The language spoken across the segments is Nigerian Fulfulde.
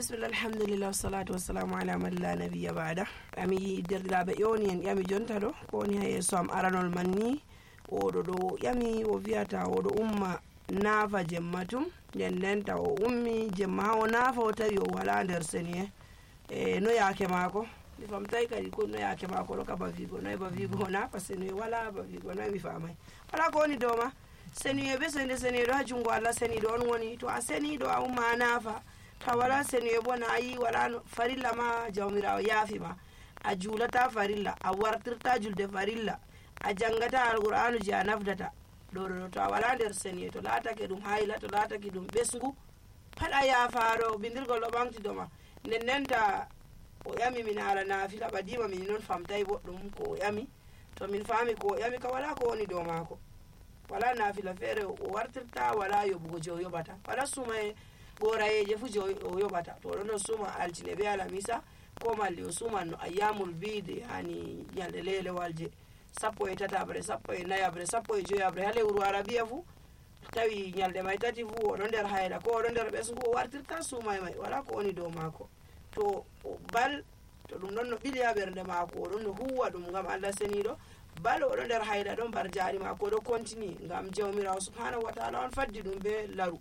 bismillah alhamdulillah wassalatu wassalamu ala man la nabiyya ba'da. Ami derdiraaɓe ƴewni en ƴami jonta ɗo ko woni ha yeeso am aranol man ni oɗo ɗo ƴami o wiyata oɗo umma naafa jemma tum nden ndenta o ummi jemma ha o naafa o tawi o wala nder seni no yaake maako mi famtay kadi ko no yaake maako ɗo ka bavigo noy bavigo o naafa seni wala bavigo noy mi famay wala ko woni dow ma seni be seniɗo ha jungo Allah seniɗo on woni to a seniɗo a umma a naafa ta wala seni bo na yi wala farilla ma jawmirawo yaafi ma a julata farilla a wartirta julde farilla a jangata alqur'anu je a nafdata ɗo to a wala nder seni to laatake ɗum hayla to laatake ɗum ɓesgu pat a yaafaɗo bindirgol ɗo ɓamtido ma nden ndenta o ƴami min haala naafila ɓadima min noon famtay boɗɗum ko o ƴami to min faami ko o ƴami ka wala ko woni dow maako wala naafila feere o wartirta wala yoɓugo je o yoɓata wala suma e ɓorayeje fu je o yoɓata to oɗon no suma altine be alamisa ko malli o suman no ayyamul bide hani ñalɗe lelewal je 17 14 15 ha lewru arabiya fu tawi ñalɗe may tati fu oɗo nder hayla ko oɗo nder ɓesgu o wartirta sumay may wala ko woni dow maako to bal to ɗum ɗon no ɓili ha ɓernde maako oɗon no huwa ɗum ngam Allah seniɗo bal oɗo nder hayla ɗon bar jaari maako oɗo continue ngam jawmirawo subhanahu wa ta'ala on faddi ɗum be laru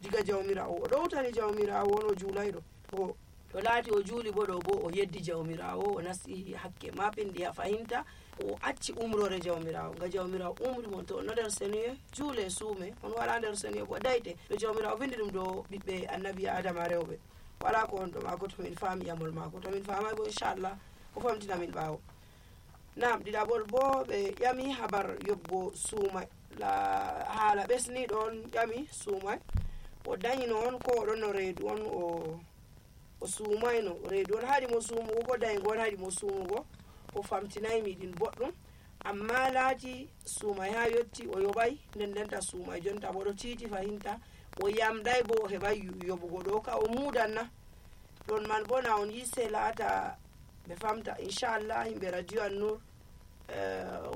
diga jawmirawo o ɗowtani jawmirawo on o juulayɗo to laati o juuli bo ɗo bo o yeddi jawmirawo o nasti hakke maɓɓindi ha fahinta o acci umrore jawmirawo nga jawmirawo umri mon to on no nder seniye juule suume on wala nder seniye bo dayte ɗo jawmirawo vindi ɗum ɗo ɓiɓɓe annabi adama rewɓe wala ko on ɗo maako to min faami yamol maako to min faamay bo inchallah o famtina min ɓaawo nam ɗiɗaɓol bo ɓe ƴami habar yobgo suumay haala ɓesni ɗon ƴami suumay o dañino on ko oɗon no reedu on o suumayno reedu on haɗi mo suumugo ko dañgo on haɗi mo suumugo o famtinaymi ɗin boɗɗum amma laati suumay ha yotti o yoɓay nden ndenta suumay jonta bo ɗo tiiti fahinta o yamɗay bo o heɓay yoɓugo ɗo ka o muudanna ɗon man bo na on yisse laata ɓe famta inchallah yimɓe radio an nour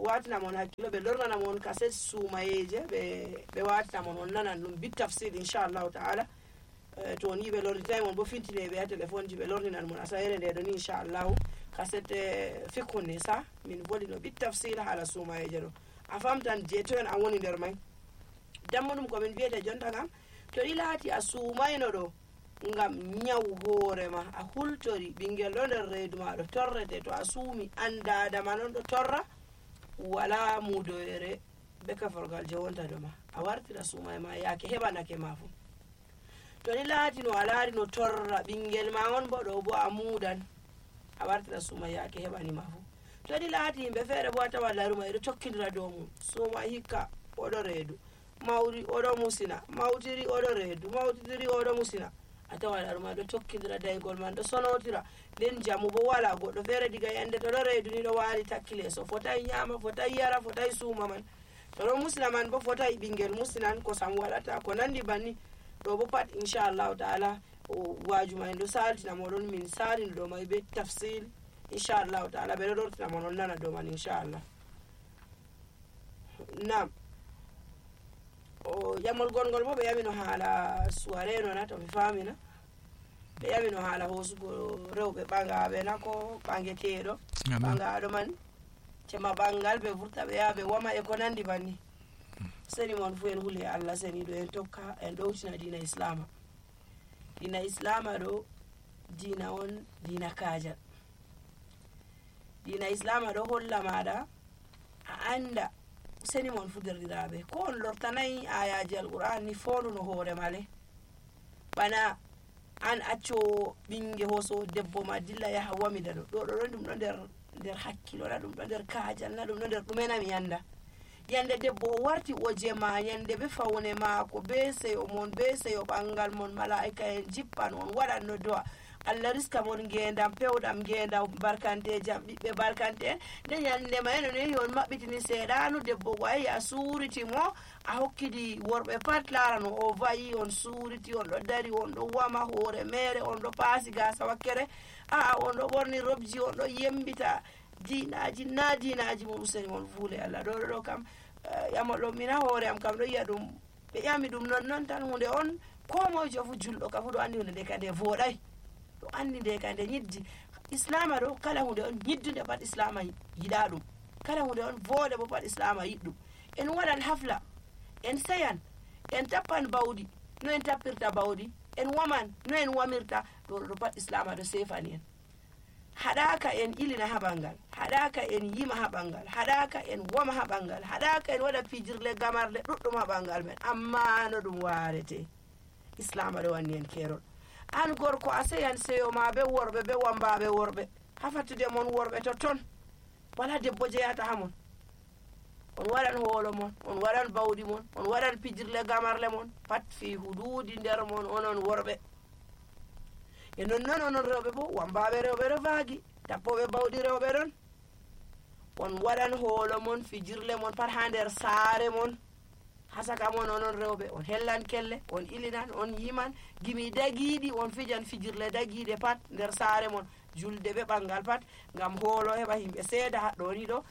watinamon hakkilo ɓe lornanamon kaset suumayeje ɓe watinamon on nanan ɗum bit tafsir inchallahu taala to ni ɓe lornitaymon bo fintineɓe ha téléphone ji ɓe lorninan mon asayere nde ɗo ni inchallahu kaset fikkunde sa min volino bit tafsir haala suumayeje ɗo a famtan je to en an woni nder may dammo ɗum komin wiyete jonta kam to ɗi laati a suumayno ɗo ngam ñaw hoorema a hultori ɓinguel ɗo nder reedu ma ɗo torrete to a suumi andadama noon ɗo torra wala mudoyere be kaforgal je wonta ɗo ma a wartira suumay ma yaake heɓanake ma fu to ni laati no a laari no torra ɓinguel ma on bo ɗo bo a muudan a wartira suumay yaake heɓanima fu to ni laati yimɓe feere bo a tawa laruma eɗo tokkidira dow mum suuma hikka oɗo reedu mawri oɗo musina mawtiri oɗo reedu mawtitiri oɗo musina a tawa laruma ɗo tokkidira daygol man ɗo sonotira nden jamu bo wala goɗɗo feere diga yande to ɗo reedu ni ɗo waali takki leeso fotay ñaama fotay yara fotay suuma man to ɗo musina man bo fotay ɓinguel musinan kosam waɗata ko nandi banni ɗo bo pat inchallahu taala wajuma en ɗo saltina moɗon min salino ɗo may be tafsil inchallahu taala ɓeɗo lortina mon on nana ɗo man inchallah nam o ƴamol gongol bo ɓe ƴamino haala soirée nona to mi famina ɓe ƴamino haala hoosugo rewɓe ɓagaɓe na ko ɓangeteɗo ɓagaɗo man cema ɓangal ɓe vurta ɓe yaha ɓe wama e ko nandi banni seni mon fu en huule Allah seniɗo en tokka en ɗowtina dina islama ɗo dina on dina kajal dina islama ɗo holla maɗa a anda seni mon fu derɗiraɓe ko on lortanayi ayaji alqur'an ni fonduno hoore male bana an acco ɓinge hoso debbo ma dilla yaha wamida ɗo ɗon ɗum ɗo nder hakkilo na ɗum ɗo nder kajal na ɗum ɗo nder ɗumenami anda yande debbo o warti o jema yande be fawne maako be seyo mon be seyo ɓangal mon malaika en jippan on waɗanno do'a Allah riska mon ngendam pewɗam ngendam barkante jam ɓiɓɓe barkante en nde yande ma eno nehi on maɓɓitini seeɗanu debbo ko ayi a suuriti mo a hokkidi worɓe pat larano o vayi on suuriti on ɗo dari on ɗo wama hoore mere on ɗo paasi gasa wakkere on ɗo ɓorni robji on ɗo yembita dinaji na dinaji mo useni mon fuule Allah ɗo kam ƴamolɗo mina hoore am kam ɗo yiya ɗum ɓe ƴami ɗum non tan hunde on ko mojo fu julɗo ka fu ɗo andi hunde nde ka nde voɗay ɗo andi nde ka nde ñiddi. Islama ɗo kala hunde on ñiddude pat islama yiɗa ɗum, kala hunde on voode bo pat islama yiɗɗum. En waɗan hafla, en seyan, en tappan bawɗi no en tappirta bawɗi, en waman no en wamirta, ɗo pat islama ɗo sefani en. haɗaka en ilina ha ɓangal, haɗaka en yima ha ɓangal, haɗaka en woma ha ɓangal, haɗaka en waɗa pijirle gamarle ɗuɗɗum ha ɓangal men, amma no ɗum warete. Islama ɗo wanni en kerol. An gorko a seyan seyo ma be worɓe be wambaɓe worɓe, ha fattude mon worɓe totton, wala debbo jeyata ha mon. On waɗan hoolo mon, on waɗan bawɗi mon, on waɗan pijirle gamarle mon, pat fi hududi nder mon onon worɓe. E nonnon onon rewɓe bo, wambaɓe rewɓe ɗo vaagi, tappoɓe bawɗi rewɓe ɗon, on waɗan hoolo mon, fijirle mon pat ha nder saare mon, ha saka mon onon rewɓe, on hellan kelle, on ilinan, on yiman, gimi dagiiɗi on fijan fijirle dagiiɗe pat nder saare mon, julde be ɓangal pat, ngam hoolo heɓa himɓe seeda haɗɗo ni ɗo,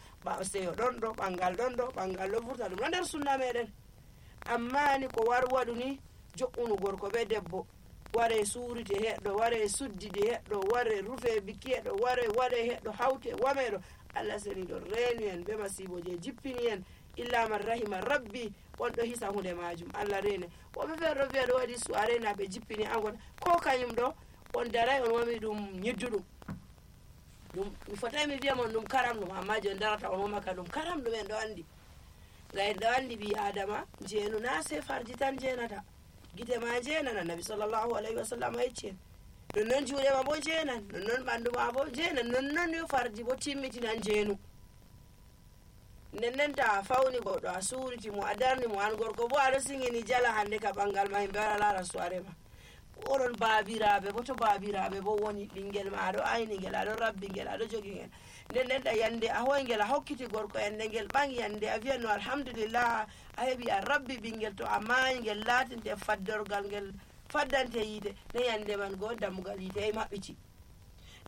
seyo ɗon ɗo, ɓangal ɗon ɗo, ɓangal ɗo vurta, ɗum ɗo nder sunna meɗen. Amma ni ko war waɗu ni, jo'unu gorko be debbo, ware suurite heɗɗo, ware suddide heɗɗo, ware rufe biki heɗɗo, ware waɗe heɗɗo, hawte wameɗo. Allah seni ɗo reenu en be masibo je jippini en, illa man rahima rabbi, on ɗo hisa hunde majum, Allah reene. Woɓe feere ɗo wiya ɗo waɗi suare na ɓe jippini angon, ko kañum ɗo on daray on wami ɗum ñidduɗum. Ɗum mi fotai mi wiya mon ɗum karam ɗum, amma je on darata on womaka ɗum karam ɗum en ɗo andi. Nga en ɗo andi ɓi adama jeenu na se farji tan jeenata, gite ma jeenan, annabi sallallahu alayhi wa sallam yecci en. Nonnon juuɗe ma bo jeenan, nonnon ɓandu ma bo jeenan, nonnon yo farji bo timmitinan jeenu. Nden ta fawni goɗɗo a suuriti mo, a darni mo, an gorko bo aɗo singini jala hande ka ɓangal ma himɓe wara laara suare ma. Oɗon baabiraɓe bo, to baabiraɓe bo woni, ɓingel ma aɗo ayni ngel, aɗo rabbi ngel, aɗo jogi ngel. Nden ta yande a hoy ngel, a hokkiti gorko, yande ngel ɓangi, yande a wiyan no alhamdulillah a heɓi a rabbi ɓingel, to a maayi ngel latinte faddorgal ngel faddante yiite, ne yande man go dammugal yiite e maɓɓiti.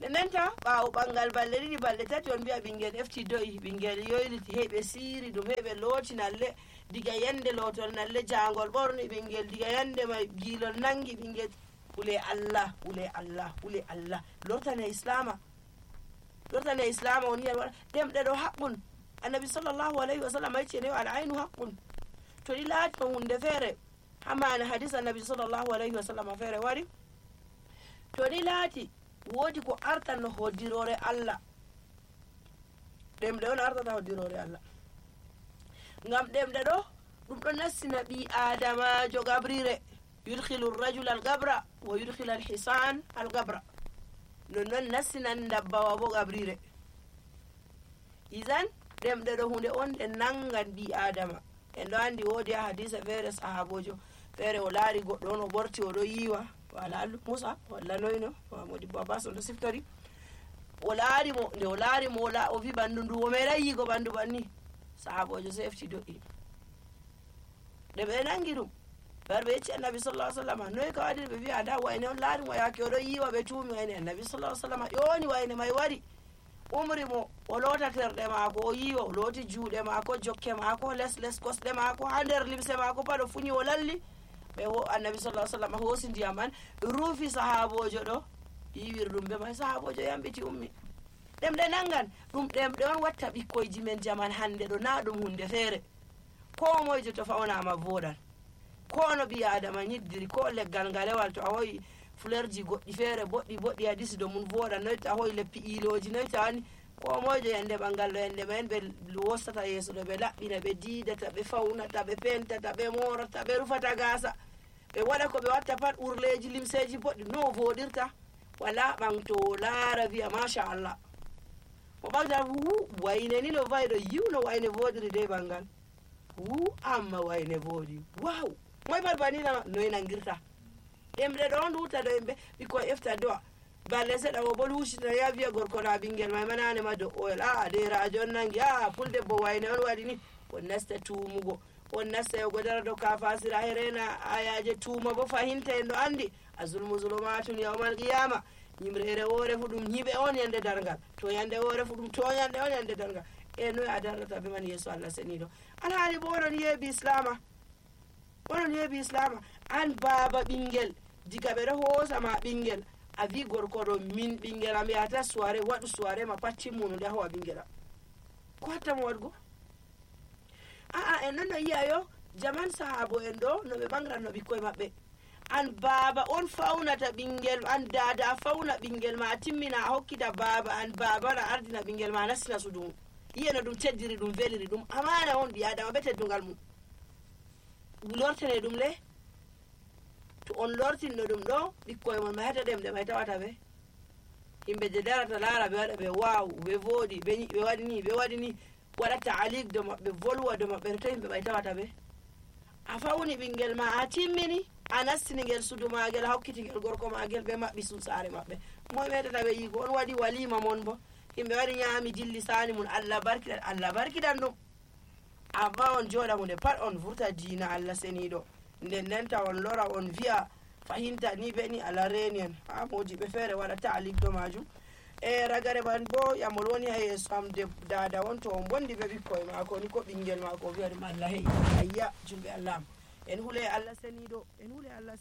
Nden ta ɓaawo ɓangal balɗe ɗiɗi balɗe tati on mbiya ɓingel efti do'i, ɓingel yoyliti, heɓe siiri ɗum, heɓe looti nalle, diga yande lootol nalle jangol ɓorni ɓingel, diga yande mai giilol nangi ɓingel. Wule Allah, wule Allah, wule Allah, lortane islama, lortane islama woni hen waɗa ɗemɗe ɗo haqqun. Annabi sallallahu alayhi wa sallam yecci en yo al aynu haqqun. To ɗi laati no hunde feere, hamani hadis annabi sallallahu alayhi wa sallam feere wari, to ɗi laati woodi ko artan no hoddirore Allah, ɗemɗe on artata hoddirore Allah. Ngam ɗemɗe ɗo ɗum ɗo nassina ɓi adamajo gabrire, yudkhilu rajul al gabra wa yudkhilu al hisan al gabra, nonnon nassinan dabbawa bo gabrire. Izan ɗemɗe ɗo hunde on ɗe nangan ɓi adama. En ɗo andi woodi ha hadisa feere sahabojo feere o laari goɗɗo on o ɓorti oɗo yiwa, wala Musa walla noyno Modibbo Abbas on ɗo siftori, o laari mo, nde o laari mo o wi ɓanndu ndu o meeɗay yigo ɓanndu ɓanni, sahabojo so efti do'i, nde ɓe nangi ɗum ɓe yecci annabi sallallahu alaihi wasallam, noy ka waɗi? Ɓe wi ada wayne on laari mo yaake oɗo yiwa, ɓe tuumi wayne. Annabi sallallahu alaihi wasallam ƴooni wayne may wari, umri mo o loota terɗe maako, o yiwa, o looti juuɗe maako, jokke maako, les kosɗe maako, ha nder limse maako pat o fuñi o lalli. Ɓe annabi sallallahu alaihi wasallam hoosi ndiyam man ruufi sahabojo ɗo, yiwir ɗum be may, sahabojo yambiti ummi. Ɗemɗe nangan ɗum, ɗemɗe on watta ɓikkoyji men jaman hande ɗo, na ɗum hunde feere. Ko moyjo to fawnama voɗan, ko no ɓi adama ñiddiri, ko leggal ngalewal to a hoyi fleurji goɗɗi feere boɗɗi a disi do mun voɗan, noy to a hoyi leppi iloji, noy to ani ko moyjo yande ɓangal ɗo yande men ɓe wostata yeeso ɗo, ɓe laɓɓina, ɓe diidata, ɓe fawnata, ɓe pentata, ɓe morata, ɓe rufata gasa, ɓe waɗa ko ɓe watta pat, urleji limseji boɗɗi, no voɗirta wala ɓanto laara wiya machallah, mo ɓagta wayne ni no wayi ɗo, yiw no wayne voɗiri de ɓangal, amma wayne voɗi, waw moy pat baninama, noy nangirta. Ɗemɗe ɗo on ɗuta ɗo yimɓe ɓikkoy efta do'a, balle seɗa o bo luusitina ya wiya gorko na ɓingel may manane ma do oyel, derajo on nangi, puldebbo wayne on waɗi ni, on nasta tuumugo, on nasta yogo dara dow ka fasira herena ayaje tuuma bo fahinta en ɗo andi azulmu zulumatun yawmal qiyama, yimrere woore fu ɗum ñiɓe on yande dargal, to yande woore fu ɗum toñande on yande dargal. E noy a darrata be man yeeso Allah seniɗo, alhaali bo onon yeeɓi islama, onon yeeɓi islama. An baaba ɓingel, diga ɓe ɗo hoosama ɓingel, a wi gorko ɗo min ɓingel am yahata soiré waɗu soiré ma pat timmuno nde a howa ɓingel am ko hattamo waɗgo aa en non no yi'a yo jaman sahabo en ɗo no ɓe ɓangranno ɓikkoye maɓɓe an baaba on fawnata ɓingel an dada a fawna ɓingel ma a timmina a hokkita baaba an baaba na ardina ɓingel ma nastina sudu mum yi'e no ɗum teddiri ɗum veliri ɗum amana on ɓi adama be teddungal mum lortene ɗum le to on lortinno ɗum ɗo ɓikkoye mon mayata ɗemɗe may tawata ɓe yimɓe je darata laara ɓe waɗa ɓe waw ɓe vooɗi ɓe waɗi ni waɗa taalik do maɓɓe volwa do maɓɓe to yimɓe may tawata ɓe a fawni ɓingel ma a timmini a nastini ngel sudu magel a hokkiti ngel gorko magel ɓe maɓɓi saare maɓɓe moy metata ɓe yigo on waɗi walima mon bo yimɓe waɗi ñaami jilli sani mun Allah barkiɗan ɗum amma on jooɗa hunde pat on vurta diina Allah seniɗo nden nenta on lora on wi'a fahinta ni be ni Allah reni en ha mojiɓe feere waɗa taalik do majum e ragare man bo yamol woni ha yeeso am dada on to on bondi be ɓikkoye mako ni ko ɓingel mako o wi'a ɗum Allah hey ayya julɓe Allah am en hule Allah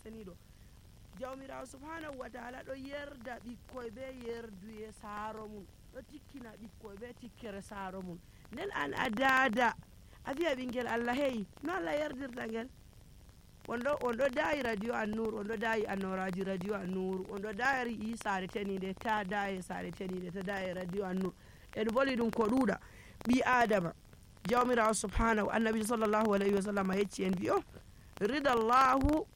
seniɗo jawmirawo subhanahu wa ta'ala ɗo yerda ɓikkoye be yerduye saaro mum ɗo tikkina ɓikkoye be tikkere saaro mum nden an a dada a wi'a ɓingel Allah hey no Allah yerdirta ngel on ɗo dayi radio An-Nur on ɗo dayi annoraji radio An-Nur on ɗo dari saare tenide ta daye saare tenide ta daye radio An-Nur en voli ɗum ko ɗuuɗa ɓi adama jawmirawo subhanahu annabi sallllahu alayhi wa sallam yecci en wi o ridallahu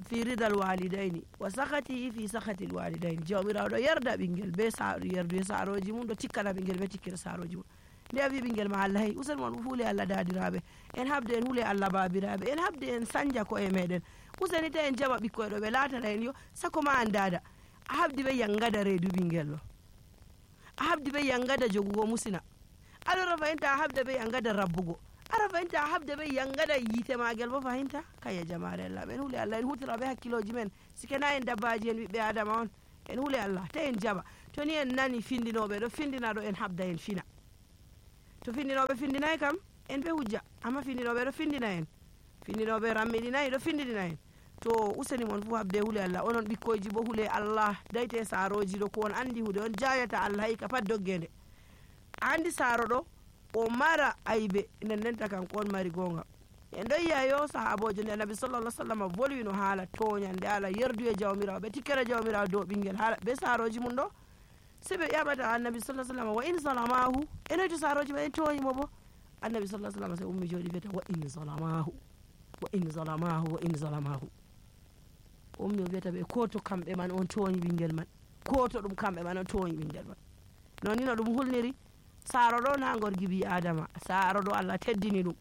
fi ridal walidaini wa sakatihi fi sakati lwalidaini jawmirawo ɗo yerda ɓingel be yerduye saroji mum ɗo tikkana ɓingel be tikkira saroji mum nde a wi ɓingel ma Allah hey usen mon huule Allah dadiraɓe en habde en huule Allah babiraɓe en habde en sanja ko e meɗen useni ta en jaɓa ɓikkoye ɗo ɓe latana en yo sako ma an dada a habdi ɓe yangada reedu ɓingel ɗo a habdi ɓe yangada jogugo musina aɗo fahimta a habda ɓe yangada rabbugo aɗa fahimta a habda ɓe yangada yiite magel bo fahimta kaya jamare Allah en huule Allah en hutira ɓe hakkiloji men sikena en dabbaji en ɓiɓɓe adama on en huule Allah ta en jaɓa to ni en nani findinoɓe ɗo findina ɗo en habda en fina to findinoɓe findinayi kam en ɓe hujja amma findinoɓe ɗo findina en findinoɓe rammiɗinayi ɗo findina en to useni mon fu habde huule Allah onon ɓikkoyji bo huule Allah dayte saroji ɗo ko on andi huude on jayata Allah hikka pat doggede a andi saaro ɗo o mara aybe nendenta kanko on mari gonga en ɗo yiya yo sahabojo nde annabi sallallah sallam volwino haala toñande ala yerdu e jawmirawo ɓe tikkere jawmirawo dow ɓinguel haala ɓe saroji mum ɗo se ɓe ƴaɓata annabi sallah sallam wa in salamahu enoyto saroji ɓe en toñimo bo annabi sallah sallam se ummi jooɗi wiyata wa in salamahu wa in salamahu wa in salamahu ummi o wiyata ɓe ko to kamɓe man on toñi ɓinguel man ko to ɗum kamɓe man on toñi ɓinguel man non ni no ɗum hulniri saaro ɗo na gorgi bi adama saaro ɗo Allah teddini ɗum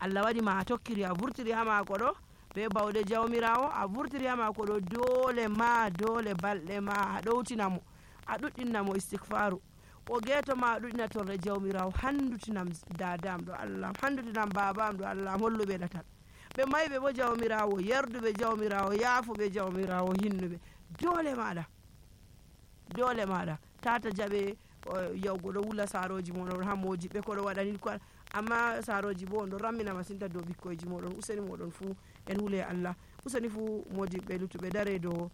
Allah waɗi ma a tokkiri a vurtiri ha mako ɗo be bawɗe jawmirawo a vurtiri ha mako ɗo dole balɗe ma a ɗowtinamo a ɗuɗɗinnamo istighfaru o geeto ma a ɗuɗɗina torre jawmirawo handutinam dadam ɗo Allah handutinam babam ɗo Allah holluɓe ɗatal ɓe mayɓe bo jawmirawo yerduɓe jawmirawo yaafuɓe jawmirawo hinnuɓe dole maɗa tata jaɓe yawgo ɗo wula saroji moɗon ha moji ɓe koɗo waɗani ko amma saroji bo on ɗo rammina masinta dow ɓikkoyji moɗon useni moɗon fuu en huule Allah useni fuu modiɓɓe lutuɓe dare dow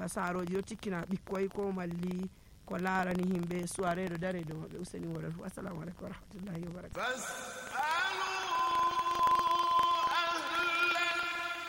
saroji ɗo tikkina ɓikkoy ko malli ko larani himɓe soiré ɗo dare dow maɓɓe useni moɗon fuu assalamu aleykum wa rahmatullahi wa barakatuh